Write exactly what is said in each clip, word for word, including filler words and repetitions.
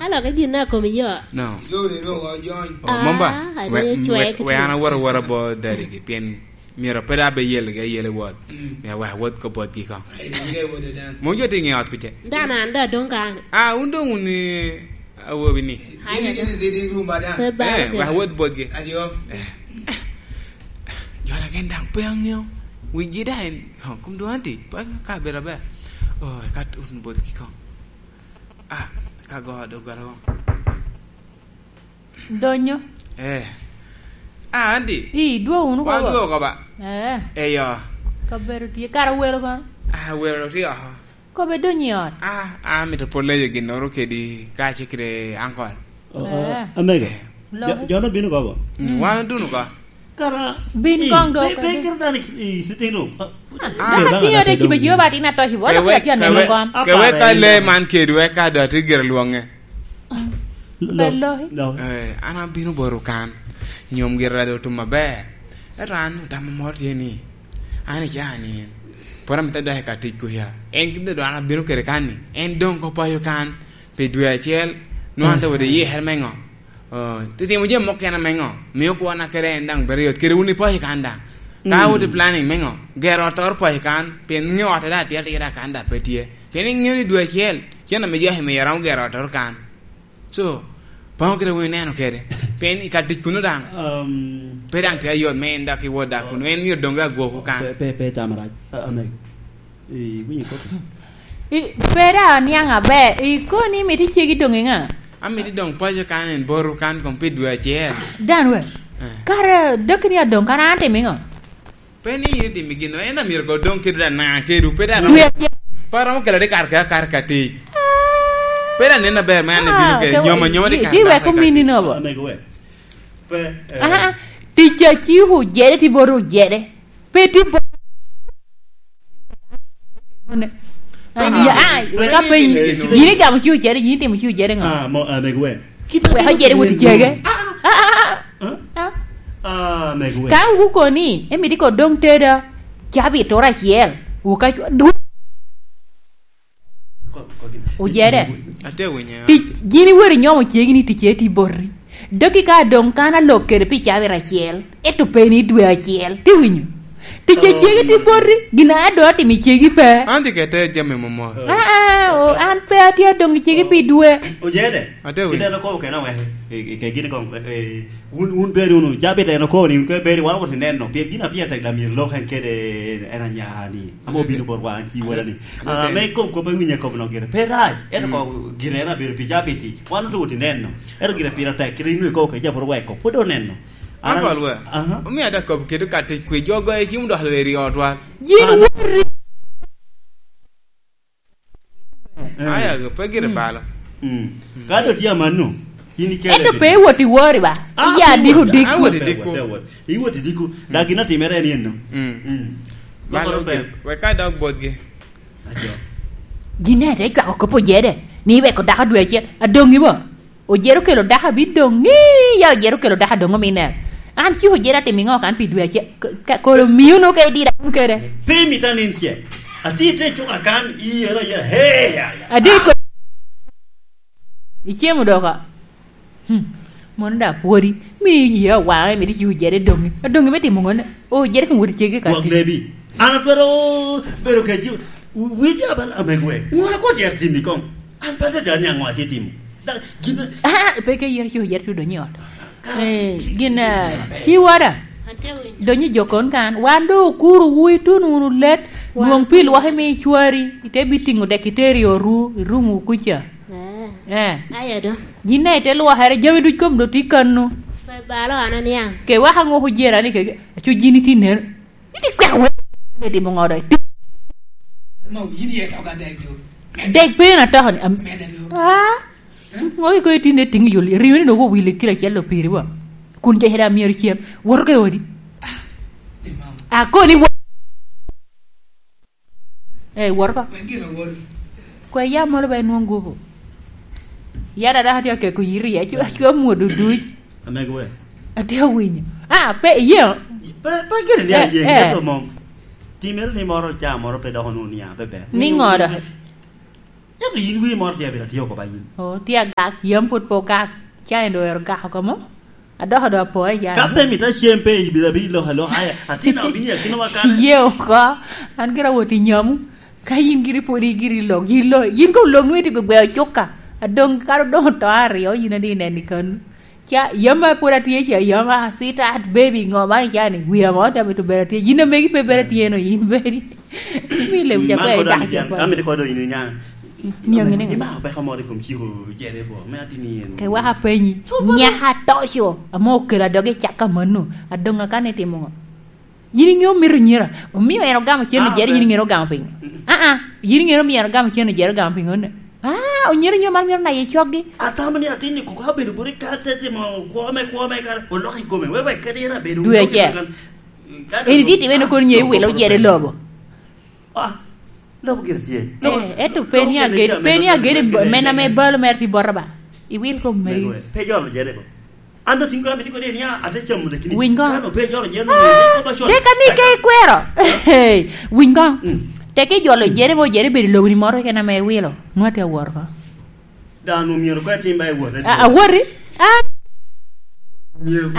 Alokke gin a komi yo. No. Ijoni ru ojony. Oh, Momba, ah, we, ade we, cwek we an awot awota bo daddy-gi, pien myero pe dok abe yelgi ayela i wot. Mm. Myero wek awot kop botgi kong. Ai, ni ge wodo dan. Mon jo tye i nge ot kuca. Dan an da dong kan. Ah, wun dong wun i awobi ni. Ai, gin, gin i sitting room ba dan. Pe balo. Eh, wek awot botgi. Ajo. Eh. Jo na gen daŋ pe aŋeo. Wigi daŋ en, oh, kum dong anti, pe aŋeo ka bedo aber. Oh, eka tun botgi kong. Ah, ka go doggola won. Donyo. Eh. Ah, anti. I, dwo wunu wan koko. Dwo koko ba. Eh. Eyo. Kabedo tye. Kara welo kono? Ah, welo tye oko. Kobe donyo i ot. Ah, ah, amito pwod leyo ginnoro kedi kace kede ankol. Oh, oh, eh. Amege. Lobo. Jo, jo no bino koko? Mm, wan oduno ko. Kara, bin kong do pe, pe kede. Kit dan i, i sitting room. Ah, ah, dano pe tiyo dan te pe cibo dong cibo ba tin atoc i bolo. Ke wek, ke wek, ke wek ka le man kedi wek ka do ti gire lwonge. Lo, lo. Eh, an abino boro kan. Nyom gire do tum maber. Ento an otamo moro tye ni, an i caa ni, pwod amito dok i ka tic kuca. En gin do an abino kede kan ni, en dong ko payo kan pi dwe acel, nwa an te wot i yikere me ŋo? Oh, titimo jami mukene me ŋo? Mio kwana kede en daŋ bedo yot. Kede wun ipaco kan daŋ. Ka awot i planning me ŋo? Gero ot oro paco kan, pien ŋeo ot daŋ atye atira kan daŋ pe tye. Pien iŋeo ni dwe acel, cen ame jaki miyo romo gero ot oro kan. So, paŋo kede wun ineno kede. Pien i ka tic kuno daŋ. Um, pe daŋ tye ayot me en dok iwot dak kuno. En myero dong dok agwoku kan. Pe, pe, pe tamo rac. A-, ame. Iwinyo kop? I, pe daŋ aniaŋ aber. Ikoni imito icegi doŋ i ŋa? Amito doŋ paco kan en boto kan kong pi dwe acel. Dan we. Eh. Kara daki ni adoŋ kan an atimo i ŋo? Pe ni in itimo gin, en amyero ko doŋ kede dana kedu, pe dana. Dwe acel. Pe aromo kela de kar ka, kar ka tic. Ah. Pe dana nen aber me an abino kede nyoma, nyoma de kar ka. Di weko mini nobo. Amego we. Pe, eh. Ah, ah. Tic a ci ojede, ti boto ojede. Pe tye po-, ah, ya, ah, wek apenyi. Yin igamo ci ocere, yin itimo ci ocere ŋo? Ah, mo, ah, meg wer. Wek ocere wot i cege. Ah, ah, ah, ah. Ah? Ah, meg wer. Ka wukoni, emito ko dong teda, cabit oro acel, wuka cwa-, dwe. Ojede. Ate winyo. Tic, gin iwero inyomo cegi ni ticce tye boti. Daki ka doŋ kan alok kede pi cabit acel, ento pe ni dwe acel. Ti winyo? Ticce cegi tye boti, gin a doŋ atimo i cegi pe. An tye kede jami momot. Ah, ah, oh, an pe atye adoŋ i cegi pi dwe. Ojede. Ate winyo. Ci deno kobo kena wek, e, e, ke gin koŋ, e, e, Wun, wun bed wunu, cabit en okobo ni, wun kono bed, wan owot i neno, pien gin a pire tek dok myero lok en kede en anya ni, ame obino bot wan, ci wala ni. Ah, me kom kop ewinyo kop nok gire. Pe rac, ento ko gire en abedo pi cabit-ti, wan ote wot i neno. Ento gire pire tek, kite inwe ikobo kede ca pwod oweko, pwod oneno. An Uncle we, aha. Omio ada kop kede ka tic kwi, jo goyo cim dok lweri i otwa. Yin wori. Eh. Aya, pe gire balo. Mm. Ka do tye amanno, in ikele. Ento pe iwot i wori ba. Ah, iya pe diko wot. Diko. Awot i diko. Pe wot. Iwot i diko. Da gin atimere en yen no. Mm. Mm. Malo. Lokoro pe. Gire, wek ka dok botgi. Ajo. Gin ete icwako kop ojede, ni iweko dako dwe acel, adoŋi bo. Ojero kelo dako abidoŋ, ya ojero kelo dako adoŋ ominne. An ci ojero atimo iŋo kan pi dwe acel? K-, ka-, kolo mio no ka idira kun kede. Pe imita nin ce. Ati te cuka kan, iyero ayera. He, ya, ya. Adi ko-, icemo doka. Hmm. Mono da pwodi. Mi iye awaŋe, mi ci ojero doŋi. Adoŋi me timo ŋone. Ojero kan wot cege ka. Gwok ti. Nebi. An atwero bedo kec, wi-, widi abal amegwe. Ŋo akwat yat timi koŋ? An pe adada ni aŋo atye timo. Da, gin. Ah, pe ke yero ci oyero tudo ni ot. Eh, gin, eh, ci wada. Donyo i jokon kan. Wan do okuru wu itun wunu let. Nwoŋ pi lwak imi icwari. Ite bi tiŋo dek iteri oru, i room wu kuca. Eh. Eh. Aye do. Gin na ite lwakere, jami duc kom do ti kanu. Pe balo an aniaŋ. Ke waka ŋo kujera ni ke, acu gin iti ner. Iti kwek we. Iti mo ŋo do. Mo, yin ye toga dek do. Dek pe na toko ni, am-, mede do. Ah? Eh? Ŋo iko itinde ting yuli. Riyo ni nogo wili kilo acel lo piri wa. Kun jo hera myero cem. Woro ke odi. Ah, ni mama. Ako ni wa-, eh, woro ko. Wek gin awor. Kwe ya molo ba inwong gupu. Ya dada hati akeko yiri ya. Acu, acu amwodo duc. Amego we. Atye awinyo. Ah, pe, ye. Pe, pe gire ni, eh, aye, eh. Ento mom. Timere ni moro ca moro pe doko nu nia, pe ber. Ni ŋo do? Ento yin wie moro tye abiro atye oko ba yin. Oh, tye agak, yam pwod pe ogak. Ca en doŋ ero gak oko mo? Adoko doŋ apo, ya. Ka pe mito acem pe, ibiro abino lok alok, aya, atin a obino i akinawa kan. Ye oko, an gira awot i nyamu. Ka yin giri pwod igiri lok, yin lo, yin ko lok nwe ti gwe ocukka. Adoŋ kara doŋ oto aryo, yin adi nen i kanu. Ca, yam a pwod atye ca, yam a, "Sweetheart, baby, ŋo man ica ni? Wia mo te mito bedo atye." Yin amegi pe bedo atye no, yin bedi. Mi lewu ca Man pe kodo idak amiti, ca pa. Amiti kodo yin inya. Nyangi ni. Ima peko moro i kom ciko jere po, me atini yen. Ke waka penyi. Nyaka toco, amo okelo adogi caka mano. Adoŋ akane timo ŋo? Yin iŋeo mito nyira. Omio en ogamo cen Ah, ojere, ok. Yin iŋeo ogamo piny. Mm-mm. Ah, ah. Yin iŋeo omio en ogamo cen ojere, ogamo piny one. Ah, onyere nyo man myero naye coggi. Atamo ni atin ni kuko abedo buri ka te timo kwo me, kwo me ka oloko i kome. Wewe kadi en abedo Dwe acel. Kan, kan Eni tye timme ni kono nye iwilo ojere lobo. Ah, lobo gire tye. Lobo, Eh, eto lobo peni gire ageni, tye, peni ageni men ame balo mere tye bota ba. Iwil kom megi. Pe jolo jere bo. An dok tin kara mitye kodi ni, "Ah, ate camo dek ni." Winy go. Kan ope jolo jere, Ah, ko ba cwalo. Teka ni ke ikwero. Hey, winy go. Mm. Teka ijolo jere mo, jere bedo lobo ni moro kena me wilo. Nwa te awor ko. Dano myero kwe tim ba iwot. A, awori? Ah. Myero.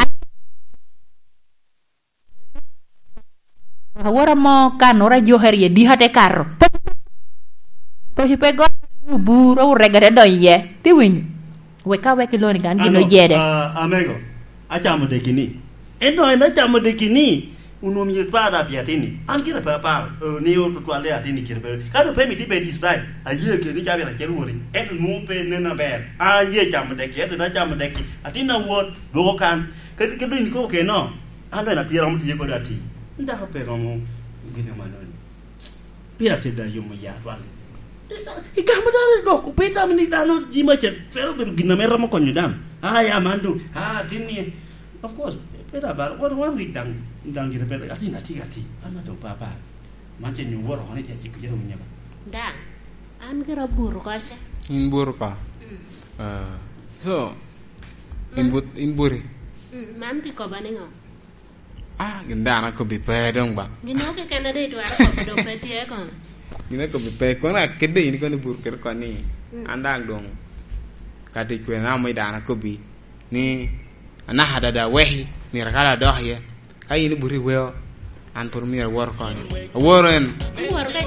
Awora mo ka nora jokere ye dika te kato. Poci pe go bur, orega te donyo iye. Ti winyo. Wek ka wek iloni kan gin Ano, ojede. Ah, amego, acamo deki ni. Ento en acamo deki ni, onwoŋo myero pa da pi atini. An gire pe aparo, eh, ni otutwalle atini kire pe. Ka do pe miti bed Israel, aye ke ni cabit acel wori. Ento nwoŋo pe nen aber. An aye camo deki, ento na camo deki. Atin awot, dwoko kan. Kadi, kadi dong ikobo keno. An bene atye romo tiye kodi ati. Dako pe romo gin amanoni. Pira tedda yomo ya twal. Igamo dano i dok, pe itamo ni dano jima ce twero bedo gin ame romo konyo dano. Ah, ya man dong, ah, tin ni. Of course, pe da bar, one, one week dang, dang gire pe, ati na ti, ati. Ana to papa. Man ce nyo woro ni ce cik jero nyaba. Da, an gira buru kosa. In buru ka. Mm. Ah, so, in Mm. but-, in buri. Mm, man pi koba ni ŋo? Ah, gin dano akobbi pe dong ba. Gin mo keken ade itwero kobo dok pe tye kono. Gin akobbi pe, kono akede in kono ibur kede koni, Mm. an dang dong. Kati kwe na mo i dano akobbi ni, anaka dada weki, myero akal adok iye. Ka in ibur iweo, an pwod myero awor konyo. Awor en. Iwor ka